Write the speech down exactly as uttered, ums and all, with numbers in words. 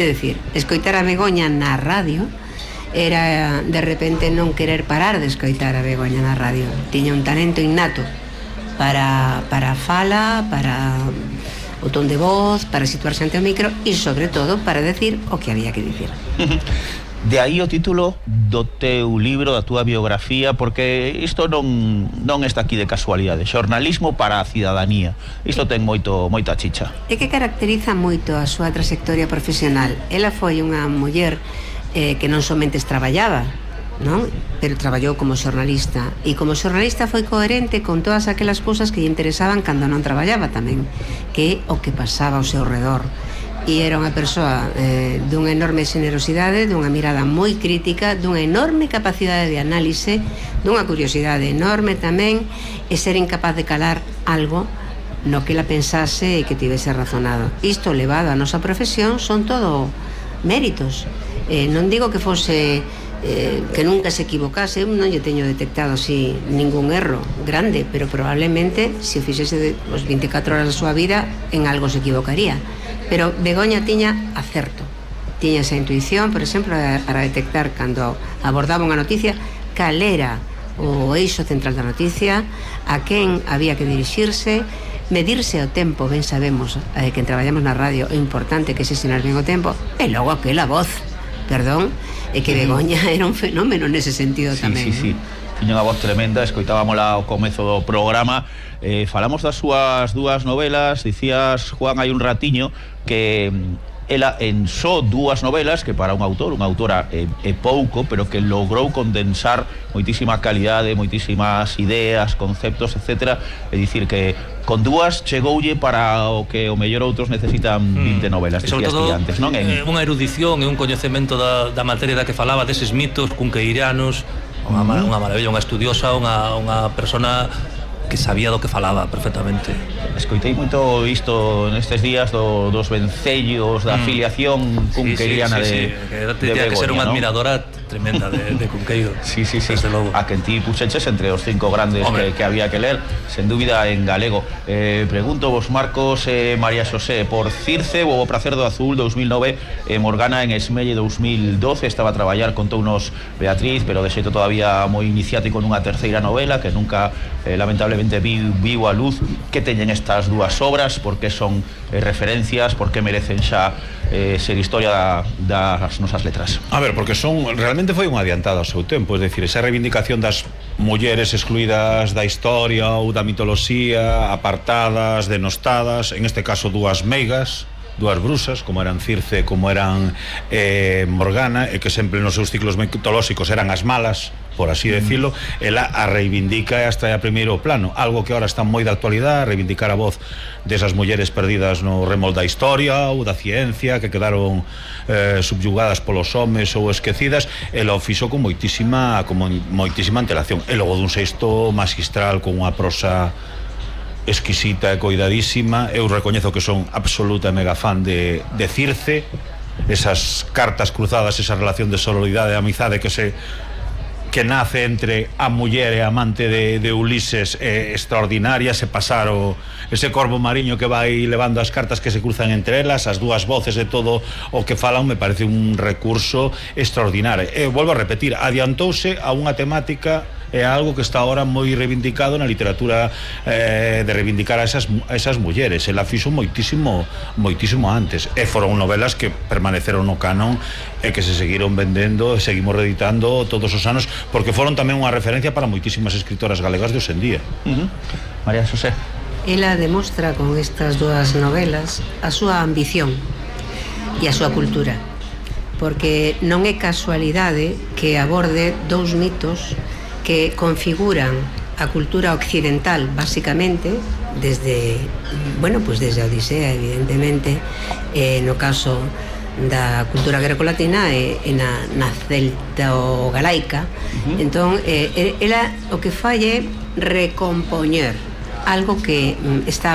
É dicir, escoitar a Begoña na radio era de repente non querer parar de escoitar a Begoña na radio. Tiña un talento innato para, para a fala, para o ton de voz, para situarse ante o micro e sobre todo para decir o que había que dicir. De aí o título do teu libro, da túa biografía, porque isto non, non está aquí de casualidade. Xornalismo para a cidadanía. Isto ten moito, moita chicha. É que caracteriza moito a súa trayectoria profesional. Ela foi unha muller eh, que non somente traballaba, non? Pero traballou como xornalista. E como xornalista foi coherente con todas aquelas cousas que lle interesaban cando non traballaba tamén, que é o que pasaba ao seu redor. E era unha persoa eh, dunha enorme generosidade, dunha mirada moi crítica, dunha enorme capacidade de análise, dunha curiosidade enorme tamén, e ser incapaz de calar algo no que ela pensase e que tivese razonado. Isto levado á nosa profesión son todo méritos. Eh, non digo que fose eh, que nunca se equivocase, non lle teño detectado así ningún erro grande, pero probablemente se o fixese de, os veinticuatro horas da súa vida en algo se equivocaría. Pero Begoña tiña acerto, tiña esa intuición, por exemplo, para detectar cando abordaba unha noticia cal era o eixo central da noticia, a quen había que dirixirse, medirse o tempo. Ben sabemos eh, que traballamos na radio é importante que se senar ben o tempo, e logo aquela voz, perdón, é que Begoña era un fenómeno nese sentido sí, tamén. Sí, sí, sí. Tiña unha voz tremenda, escoitábamola ao comezo do programa. Eh, falamos das súas dúas novelas. Dicías, Juan, hai un ratiño que ela en só dúas novelas, que para un autor, unha autora é, é pouco, pero que logrou condensar moitísima calidade, moitísimas ideas, conceptos, etcétera. É dicir que con dúas chegoulle para o que o mellor outros necesitan vinte novelas, sobre dicías todo, ti antes, non? En... unha erudición e un coñecemento da, da materia da que falaba, deses mitos cunqueiranos, unha, mm. unha maravilla, unha estudiosa, unha, unha persona que sabía do que falaba perfectamente. Escoitei moito isto nestes días do, dos vencellos da afiliación cunqueiriana sí, sí, sí, de, sí. Que de Begoña, que ser unha ¿no? admiradora tremenda de, de Cunqueiro. Sí, sí, sí. Desde logo. A quen ti puxeches entre os cinco grandes que, que había que ler, sen dúbida en galego. Eh, pregunto vos, Marcos e eh, María Xosé, por Circe, o Pracer do Azul dous mil nove, eh, Morgana en Esmelle dous mil doce, estaba a traballar, contounos Beatriz, pero de xeito todavía moi iniciático nunha terceira novela que nunca, eh, lamentablemente, vi, viu a luz. Que teñen estas dúas obras? Por que son eh, referencias? Por que merecen xa eh, ser historia da, das nosas letras? A ver, porque son realmente foi un adiantado ao seu tempo, é dicir, esa reivindicación das mulleres excluídas da historia ou da mitoloxía, apartadas, denostadas, en este caso dúas meigas, dúas brusas, como eran Circe, como eran eh, Morgana, e que sempre nos seus ciclos mitolóxicos eran as malas, por así decirlo, ela a reivindica hasta a primeiro plano, algo que ahora está moi de actualidade, reivindicar a voz desas mulleres perdidas no remol da historia ou da ciencia, que quedaron eh, subyugadas polos homes ou esquecidas. Ela o fixo con moitísima, con moitísima antelación, e logo dun sexto magistral con unha prosa exquisita e coidadísima. Eu recoñezo que son absoluta e mega fan de, de Circe, esas cartas cruzadas, esa relación de sororidade e amizade que se que nace entre a muller e a amante de, de Ulises, é extraordinaria. Se pasar o, ese corvo mariño que vai levando as cartas que se cruzan entre elas, as dúas voces de todo o que falan, me parece un recurso extraordinario. E volvo a repetir, adiantouse a unha temática, é algo que está ahora moi reivindicado na literatura, eh, de reivindicar a esas, a esas mulleres. Ela fixo moitísimo moitísimo antes, e foron novelas que permaneceron no canon e que se seguiron vendendo e seguimos reeditando todos os anos, porque foron tamén unha referencia para moitísimas escritoras galegas de hoxendía. uh-huh. María Xosé. Ela demostra con estas dúas novelas a súa ambición e a súa cultura, porque non é casualidade que aborde dous mitos que configuran a cultura occidental, básicamente, desde, bueno, pues desde a Odisea, evidentemente, eh, no caso da cultura grecolatina e, e na, na celto-galaica. Uh-huh. Entón, eh, ela o que fai é recompoñer algo que mm, está